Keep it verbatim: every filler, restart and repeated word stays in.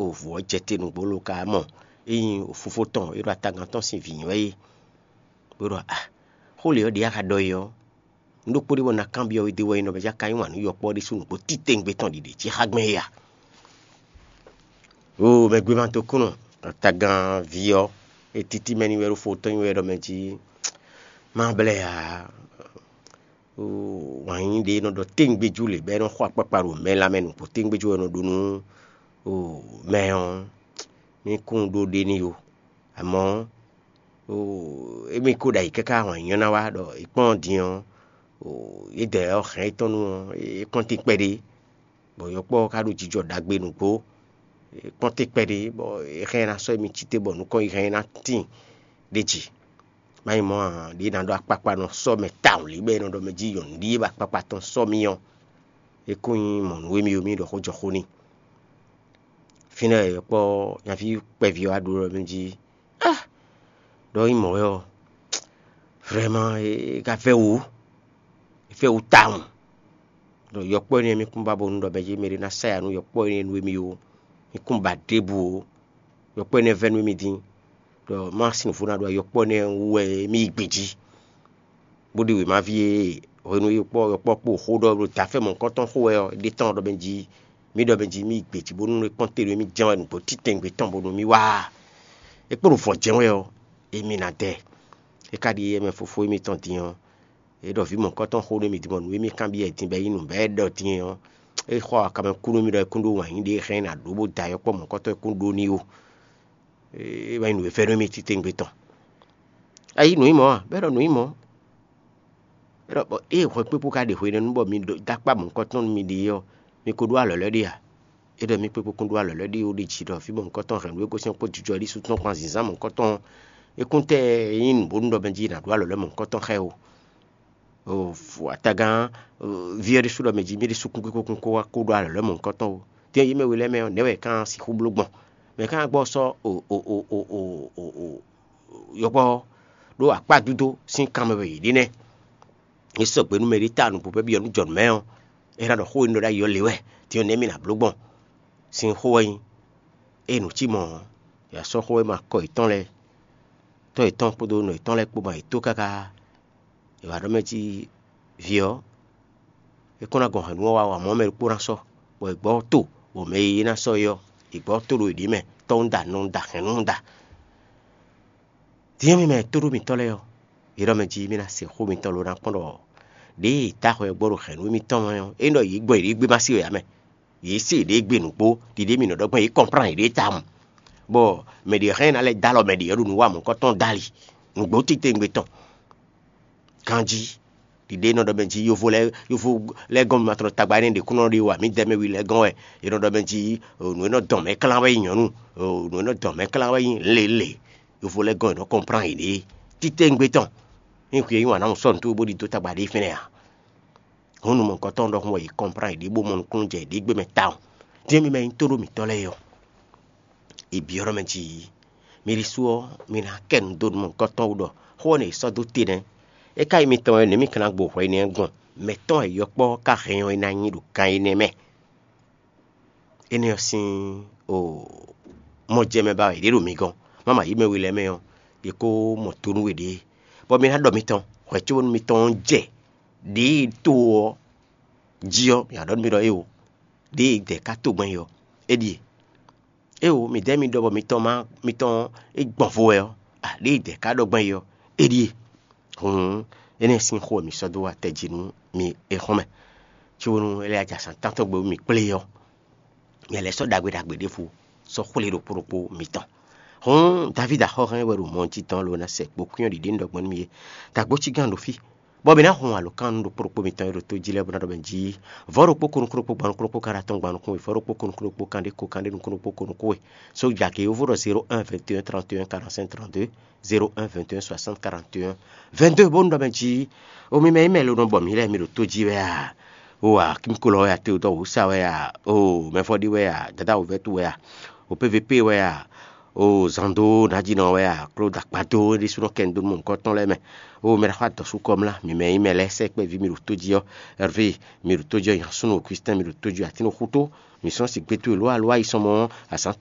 O vǔ ɔ́ jɛ te nǔgbó lo ka mɔ é nyí fofó tɔn e ɖo atagán tɔn sín vǐ nyí wɛ é. Bó ɖɔ a xó lě ɔ́ ɖě a ka ɖɔ é ɔ́, un ɖokpó ɖé bɔ un ná kanbyɔ́ we dó wɛ nyí ɖɔ mɛ jí a ka yí wǎn nú yɔkpɔ́ ɖésú nǔgbó títewungbe tɔn ɖiɖe jí xá gbɛn é a? Oo mɛ gbé ma dó kúnɔ, atagán ví ɔ́, é títí mɛ ní wɛ ɖo fó tɔn nyí wɛ ɖɔ mɛ jí má blɛ́ ǎ. Wǎn yíyí ɖé nɔ ɖɔ téŋgbéjú lě bɔ é nɔ xo akpakpa ɖo mɛ lanmɛ nukpó téŋgbéjú wɛ nɔ ɖó nú mɛ ɔ́, mí kún ɖó ɖé n'i ó. Amɔ̌ émí ko ɖo ayǐ káká wǎn yíyí ɔ́ ná wá ɖɔ è kpɔ́n din ɔ́, yědɛɛ ɔ́ hɛn étɔn nu ɔ́, é kpɔ́n te kpɛɖé, bɔ yɔkpɔ́ ɔ́ ka ɖo jijɔ ɖagbe nǔgbó. É kpɔ́n te kpɛɖé bɔ é hɛn ná sɔ́ émí cí te bɔ nukɔn yi hɛn ná tíin ɖ'é jí. Má nyí mɔ̌ ǎ, ɖě ná ɖɔ akpakpa nɔ sɔ́ mɛ tawun lě bɔ é nɔ ɖɔ mɛ jí nyɔ̌nu ɖíe bɔ akpakpa tɔn sɔ́ mì ɔ́, é kún nyí mɔ̌ nú émí ɔ́, mì ɖɔ xó jɔ xó n'i. Fínɛ́ wɛ yɔkpɔ́ nyaví kpɛví ɔ́ wá ɖó ɖɔ mɛ jí á ɖɔ nyí mɔ̌ wɛ ɔ́, vrɛ́má é ka fɛ́ wǔ, é fɛ́ wǔ tawun. Ɖɔ yɔkpɔ́ énɛ́ mì kún ba bónú ɖɔ mɛ jí mɛ ɖé ná sá ya nú yɔkpɔ́ énɛ́ nú émí ó, mì kún ba ɖěbǔ ó. Yɔkpɔ́ énɛ́ vɛ́ nú émí dín, ɖɔ má sin nǔ vo ná ɖo yɔkpɔ́ énɛ́ wú wɛ émí yi gbe jí. Bó ɖi wěmaví e hwenu e yɔkpɔ́ yɔkpɔ́ kpo xó ɖɔ ɖo dafɛ mɔ̌hunkɔtɔn xó wɛ ɔ́, é ɖe tɔ́n ɖɔ mɛ jí mì ɖɔ mɛ jí mì yi gbe jí bónú é kpɔ́n te ɖo émí jɛ́n wɛ nǔgbó títɛngbé tɔn bónú mì wá. É kpo ɖo vɔ̌ jɛ́n wɛ ɔ́, émí ná dɛ. É ka ɖi éyɛ́ mɛ fofó émítɔn din ɔ́, é ɖɔ vǐ mɔ̌hunkɔtɔn xó nú émí din bɔ nǔ e mì kanbyɔ́ ɛ din bɔ é nyí nǔ bɔ é ɖɔ din ɔ́, é xɔ akamɛ kú nú mì ɖɔ é kún ɖó wǎn yí ɖě é hɛn ná ɖó bó da yɔkpɔ́ mɔ̌hunkɔtɔn é kún ɖó n'i ó. É wɛ nyí nǔ e fɛ́nú mì titewungbe tɔn. Ayí nǔ nyí mɔ̌ a? Bɔ é ɖɔ nǔ nyí mɔ̌. É ɖɔ bɔ ée hwɛ kpékpó ka ɖe hwenɛ́nu bɔ mi dó akpá mɔ̌hunkɔtɔn nú miɖée ɔ́, mi ko ɖó alɔ̌lɔ́ ɖe a? É ɖɔ mì kpékpó kún ɖó alɔ̌lɔ́ ɖe ó ɖe jǐ ɖɔ fí mɔ̌hunkɔtɔn hɛn nǔ e gosɛ́n kpó jijɔ ɖísú tɔn kpán zǐnzán mɔ̌hunkɔtɔn. É kún tɛ nyí nǔ bónú ɖɔ mɛ jí è nǎ ɖó alɔ̌lɔ́ mɔ̌hunkɔtɔn xá ɛ ó. Atagán ví ɔ́ ɖésú ɖɔ mɛ jí mì ɖésú kún kúkú kún kó wá kó ɖó alɔ̌lɔ́ mɔ̌hunkɔtɔn ó. Dín e yí mɛ we lɛ́ɛ mɛ ɔ́, nɛ̌ wɛ é ká sixú bló gbɔn? Mɛ ká gbɔ sɔ́ yɔkpɔ́ ɖó akpá dúdó sín kanmɛ wɛ yě ɖe nɛ́. È sɔgbe nú mɛ ɖé ta nǔgbó bɔ é byɔ́ nú jɔ̌nǔmɛ ɔ́, é ná ɖɔ xó e un ɖɔ ɖ'ayǐ ɔ́ lě wɛ, din ɔ́ nɛ̌ mì nǎ bló gbɔn? Sin xó wɛ nyí. Ée nǔ cí mɔ̌ ɔ́, è wǎ sɔ́ xó e ma kɔ yětɔn lɛ́ɛ, tɔ́ yětɔn kpódó nɔ yětɔn lɛ́ɛ kpó ma yě tó káká. È wǎ ɖɔ mɛ jí vǐ ɔ́, é kɔn ná gɔn hɛ̌nnu ɔ́ wá wa mɔ̌ mɛ ɖokpó ná sɔ́, bɔ è gbɔ́ to, bɔ mɛ e é ná sɔ́ é ɔ́, è gbɔ́ to ɖo yě ɖě mɛ, tɔ́ un da, nɔ un da, hɛ̌nnu un da. Din ɔ́, mi mɛ tóɖó mǐtɔn lɛ́ɛ ɔ́, yě ɖɔ mɛ jí mì ná se xó mitɔn lo ná kpɔ́n ɖɔ ɖěe yě ta xɔ ɛ gbɔ ɖo hɛ̌nnu émítɔn mɛ ɔ́, é ɖɔ yě gbɔn yěɖée gbé ma se wɛ ǎ mɛ. Yě se yěɖée gbe nǔgbó, ɖiɖée mǐ nɔ ɖɔ gbɔn yě kɔnplán yěɖée tawun, bɔ mɛ ɖě hɛn ná lɛ́ dó alɔ mɛ ɖě ɔ́ ɖo nǔ wa mɔ̌hunkɔtɔn dó ali, nǔgbó titewungbe tɔn. Ganjí ɖiɖée nɔ ɖɔ mɛ jí yovo lɛ́ɛ yovo lɛ́ɛ gɔ́n mi ma tlɔ tagba énɛ́ ɖě kún nɔ ɖe wa mǐdɛɛ mɛ wi lɛ́ɛ gɔ́n wɛ, è nɔ ɖɔ mɛ jí nǔ e nɔ dɔn mɛ klán wɛ nyí nyɔ̌nu, nǔ e nɔ dɔn mɛ klán wɛ nyí lělě. Yovo lɛ́ɛ gɔ́n è nɔ kɔnplán yěɖée titewungbe tɔn. Nyí hwi e yí wǎn ná mɔ sɔ́ nǔtó bó ɖi dó tagba ɖé fínɛ́ ǎ. Hǔn nǔ mɔ̌hunkɔtɔn ɖɔhun wɛ yě kɔnplán yěɖée bó mɔ nukúnnú jɛ yěɖée gbé mɛ tawun. Dín mi mɛ nyí tóɖó mǐtɔn lɛ́ɛ ɔ́, è byɔ́ ɖɔ mɛ jí mì ɖésú ɔ́, mi ná kɛ nu dó nǔ mɔ̌hunkɔtɔn wú ɖɔ xó ɔ́ nɛ è sɔ́ dó te nɛ́. É ka nyí mitɔn wɛ nɛ̌ mi ka ná gbo hwɛ énɛ́ gbɔn? Mɛ̌ tɔn wɛ yɔkpɔ́ ɔ́ ka hɛn ɔ́ é ná nyí ɖo gan énɛ́ mɛ? Énɛ́ ɔ́ sín o mɔ jɛ mɛ ba wɛ yě ɖe ɖo mi gɔ́n, má ma yí mɛ we lɛ́ɛ mɛ ɔ́, yě kó mɔ to nú we ɖě. Bɔ mi ná ɖɔ mitɔn hwɛ cóbónú mitɔn ɔ́ jɛ ɖěe to ɔ́ jí ɔ́, mi ná ɖɔ nú mì ɖɔ éeǒ, ɖěe dɛ̌ ka to gbɔn é ɔ́, é ɖíe. Éeǒ, midɛɛ mi ɖɔ bɔ mitɔn ma mitɔn é gbɔn vo wɛ ɔ́, a ɖěe dɛ̌ ka ɖɔ gbɔn é ɔ́, é ɖíe. Hǔn énɛ́ sín xó wɛ mi sɔ́ dó wá tɛjí nú mi é xɔ́n mɛ. Cóbónú é lɛ́ ajǎ sán tántɔ́ gbe mi kplé ɔ́, nyɛ lɛ́ sɔ́ ɖagbe ɖagbe ɖěvo sɔ́ xwlé ɖokpó ɖokpó mitɔn. Hǔn Davídi axɔ́hɛn wɛ ɖo mɔ jí tɔn lo ná sɛ kpo kwín ɔ́ ɖiɖi nú ɖɔ gbɔn nú mi é. Dagbo cí gán ɖo fí, bɔ mǐ ná hun alǒkan nú ɖokpó ɖokpó mitɔn e ɖo tó jí lɛ́ɛ bó ná ɖɔ mɛ jí vɔ̌ ɖokpó ko nukún ɖokpó gban nukún ɖokpó kan ɖo atɔn gban nukún we, vɔ̌ ɖokpó ko nukún ɖokpó kan ɖé ko kan ɖé nukún ɖokpó ko nukún we. Sója ke yovo ɖɔ zéro un vingt et un trente et un quarante-cinq trente-deux, zéro un vingt et un soixante quarante et un vingt-deux bónú ɖɔ mɛ jí o mi mɛ nyí mɛ lo nɔ bɔ mǐ lɛ́ɛ mi ɖo tó jí wɛ a? O a kínkólɔ wɛ a, teodɔ wǔsa wɛ a? O mɛfɔɖi wɛ a, dada wǔvɛ́tu wɛ a? O P V P wɛ a? O zando nǎjínɔ wɛ a? Klóda kpado ɖésúnɔ kɛn dó nú mɔ̌hunkɔtɔn lɛ́ɛ mɛ. O mɛ ɖaxó adɔ̌súkɔ mlá, mi mɛ nyí mɛ lɛ́ɛ sɛkpɛ́ví mi ɖo tó jí ɔ́, Hervé mi ɖo tó jí ɔ́, Yansúnu Augustin mi ɖo tó jí, Atín xútó mi sɔ́ sigbétu e lǒ aló ayisɔmɔ ɔ́, azǎn tɔn